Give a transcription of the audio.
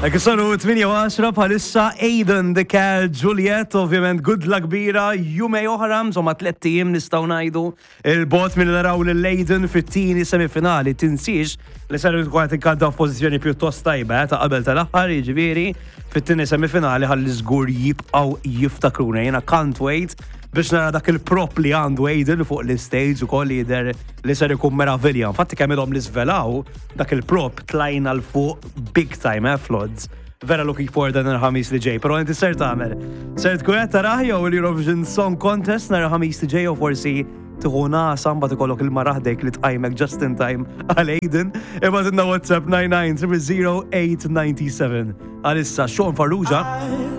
Hekk saru 8:10 bħalissa Aidan the Cal Juliet, ovvjament good luck kbira, jumej oħra, insomma 3 ijiem nistgħu ngħidu il-bot minn naraw lil Aidan fit-tieni semifinali. Tinsiex li ser tkun qed inkanta f'pożizzjoni pjuttost tajba ta' qabel tal-aħħar, jiġifieri fit-tieni semifinali ħalli żgur jibqgħu jiftakruna. Jiena can't wait biex nara dak il-prop li għandu Aidan fuq l-stage u koll jidher li ser ikun meravilja. Infatti kemm ilhom li svelaw dak il-prop tlajna 'l fuq big time, floods. Vera looking forward dan il-Ħamis li ġej, pero inti ser tagħmel. Ser tkun qed tarah jew l-Eurovision Song Contest nhar il-Ħamis li ġej jew forsi tieħu nagħsa mbagħad ikollok il-mara ħdejk li tqajmek just in time għal Aidan. Ibgħatilna WhatsApp 99 00897. Għalissa Sean Farrugia.